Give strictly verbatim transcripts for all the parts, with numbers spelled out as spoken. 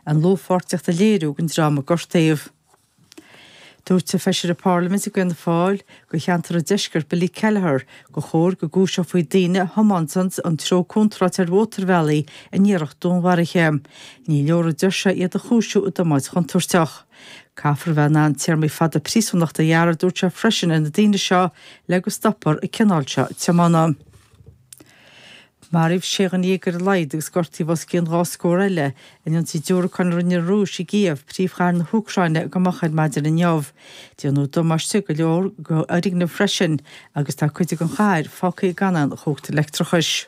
An dlúthpháirtíocht a léiriú don dream a gortaíodh. Dúirt feisire Parlaiminte d'Fhianna Fáil do cheantar an Deiscirt Billy Kelleher gur chóir go gcúiseofaí daoine a thiomáineann an treo contráilte ar mhótarbhealaí in iarracht dúnmharaithe. Ní leor a deir sé iad a chúisiú i dtiomáint chontúirteach. Caithfear a bheith in ann téarmaí fada príosúnachta a ghearradh dúirt sé freisin ar na daoine seo le go stopfar an cineál seo tiomána. Maraíodh sé dhuine déag ar a laghad agus gortaíodh os cionn dhá scór eile in ionsaí diúracán a rinne an Rúis i gCív, príomhchathair na hÚcráine go moch ar maidin inniu. Déanadh damáiste go leor d'fhoirgnimh freisin agus tá cuid den chathair fágtha gan aon chumhacht leictreachais.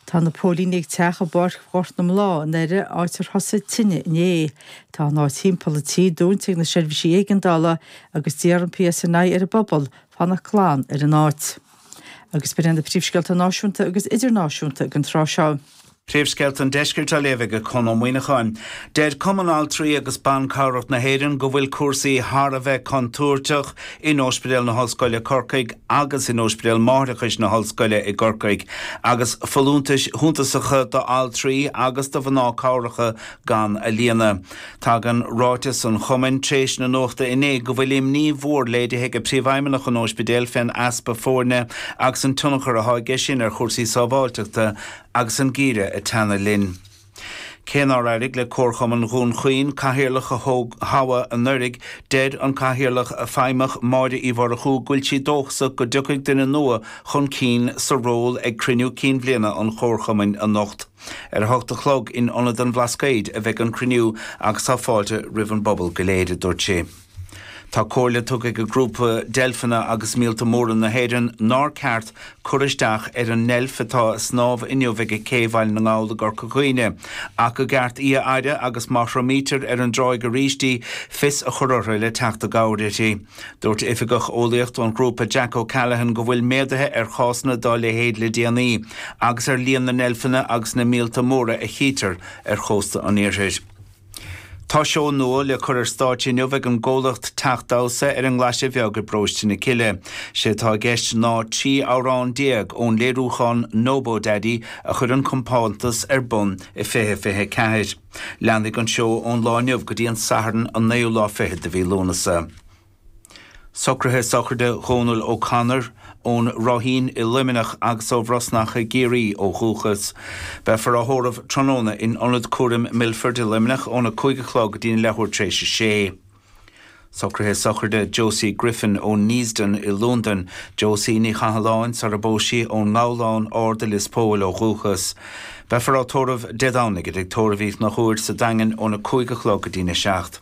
Tá na póilíní ag teach i bPáirc Ghort na mBláth i nDoire áit ar thosaigh tine inné. Tá an áit timpeall an tí dúnta ag na seirbhísí éigeandála agus d'iarr an PSNI ar an bpobal fanacht glan ar an áit. Agus b'in na príomhscéalta náisiúnta agus idirnáisiúnta ag an tráth seo. Príomhscéalta an Deiscirt á léamh ag Conn Ó Muíneacháin. Deir Cumann Altraí agus Ban Cabhrach na hÉireann go bhfuil cúrsaí thar a bheith contúirteach in Ospidéal na hOllscoile Corcaigh agus in Ospidéal Máithreachais na hOllscoile i gCorcaigh, agus folúntais shuntasacha d'altraí agus do mhná cabhracha gan a líonadh. Tagann ráiteas an chumainn tar éis na nuachta inné go bhfuil imní mhór léirithe ag príomhfheidhmeannach an ospidéil fén easpa foirne agus an tionchar atá aige sin ar chúrsaí sábháilteachta agus an geimhreadh ag teannadh linn. Cé nár éirigh le Comharchumann Dhún Chaoin cathaoirleach a thoghadh anuraidh, deir an cathaoirleach feidhmeach Máire Uí Mhurchú go bhfuil sí dóchasach go dtiocfaidh duine nua chun cinn sa ról ag cruinniú cinn bhliana an Chomharchumainn anocht. Ar a hocht a chlog in Ionad an Bhlascaoid a bheidh an cruinniú agus tá fáilte roimh an bpobal go léir, a dúirt sí. Tá comhairle tugtha ag grúpa deilfeanna agus míolta móra na hÉireann nár ceart cur isteach ar an ndeilf atá ag snámh inniu ag Cé Bhaile na nGall i gCorca Dhuibhne, ach go gceart í a fhaire agus má thriomaítear ar an dtráigh arís í, fios a chur orthu le teacht i gcabhair uirthi. Dúirt oifigeach eolaíochta an ghrúpa Jack O'Callaghan go bhfuil méaduithe ar chásanna dá leithéid le déanaí agus ar líon na ndeilfeanna agus na míolta móra a chítear ar chósta an iarthair. Tá seó nua le cur ar stáitse inniu ag an gcomhlacht Teach Damhsa ar an nGlaise Bheag i bParóiste na Cille. Sé atá i gceist ná trí amhrán déag ón léiriúchán Nobo Daddy a chuir an compántas ar bun i fiche fiche ceathair. Leanfaidh an seó ón lá inniu go dtí an Satharn an naoú lá fichead de mhí Lúnasa. Socruithe sochraide Dhónal O'Connor ón Ráithín i Luimneach agus ó Bhrosnach i gCiarraí ó dhúchas. Beifear á thórramh tráthnóna in Ionad Cúraim Milford i Luimneach óna cúig a chlog go dtí leathuair tar éis a sé. Socruithe sochraide Josie Griffin ó Neasden i Londain, Josie Ní Chathalláin sara bpós sí ón nGabhlán Ard i Lios Póil ó dhúchas. Beifear á tórramh Dé Domhnaigh i dTigh Tórraimh Uí Chonchúir sa Daingean óna cúig a chlog go dtí na seacht.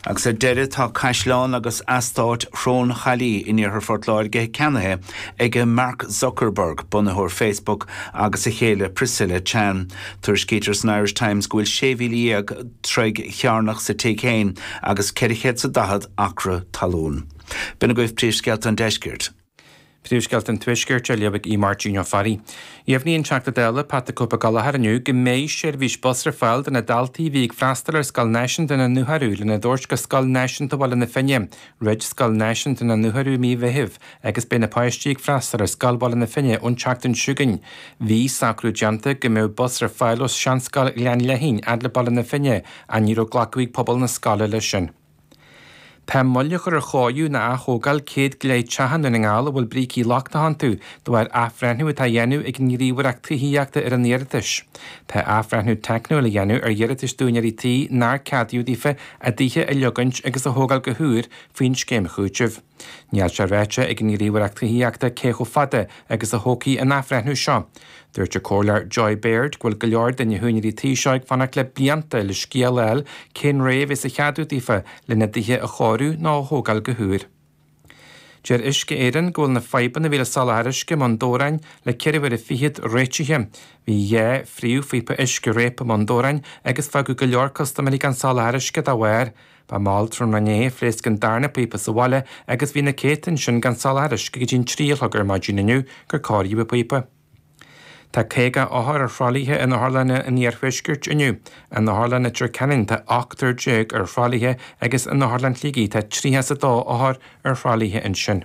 Agus ar deireadh tá caisleán agus eastát Shrón Chaillí in iarthar Phort Láirge ceannaithe ag Mark Zuckerberg, bunaitheoir Facebook, agus a chéile Priscilla Chan. Tuairiscítear san Irish Times go bhfuil sé mhíle dhéag troigh chearnach sa tigh féin agus ceithre chéad is a daichead acra talún. B'in agaibh príomhscéalta an deiscirt. Príomhscéalta an Tuaiscirt á léamh ag Máirtín Ó Fearraigh. Dheimhnigh an Teachta Dála Pat the Cope Gallagher inniu go mbeidh seirbhís bus ar fáil do na daltaí a bhí ag freastal ar Scoil Náisiúnta na nDúthaí lena dtabhairt go Scoil Náisiúnta Bhaile na Finne, Dhruid Scoil Náisiúnta na nDúthaí mí Mheithimh agus beidh na páistí ag freastal ar Scoil Bhaile na Finne ón tseachtain seo chugainn. Bhí socrú déanta go mbeadh bus ar fáil ó Seanscoil Ghleann Leithín fhad le Baile na Finne ach ní raibh glacadh ag pobal na scoile leis sin. Tá moill á chur ar chóiriú nó athógáil céad go leith teach i nDún na nGall a bhfuil brící lochtacha iontu de bharr athbhreithniú atá á dhéanamh ag an nGníomhaireacht Tithíochta ar an iarratais. Tá athbhreithniú teicniúil á dhéanamh ar iarratais d'úinéirí tí nár ceadaíodh daofa a dtithe a leogaint agus a thógáil go húr faoin scéim chúitimh. Níl sé ráite ag an nGníomhaireacht Tithíochta cé chomh fada agus a thógfaidh an athbhreithniú seo. Dúirt an comhairleoir Joy Baird go bhfuil go leor de na húinéirí tí seo ag fanacht le blianta le scéal a fháil cén ré a bheas á cheadú daofa lena dtithe a chóiriú nó a thógáil go húr. Deir Uisce Éireann go bhfuil na fadhbanna a bhí le soláthar uisce i mBun Dobhráin le ceithre huaire fichead réitithe. Bhí dhá phríomhphíopa uisce réabtha i mBun Dobhráin agus fágadh go leor custaiméirí gan soláthar uisce dá bharr. Ba mhall tráthnóna inné a phléasc an darna píopa sa bhaile agus bhí na céadta ansin gan soláthar uisce go dtí an trí a chlog ar maidin inniu gur cóiríodh an píopa. Tá caoga othar ar thralaithe in otharlanna an iarthuaiscirt inniu. In Otharlann Leitir Ceanainn tá ochtar déag ar thralaithe agus in Otharlann Shligigh tá tríocha is a dó othar ar thralaithe ansin.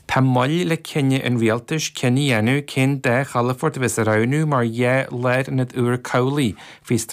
Tá moill le cinneadh an rialtais cinneadh a dhéanamh cén dá chalafort a bheas á roghnú mar dhá lárionad úr cabhlaigh faoi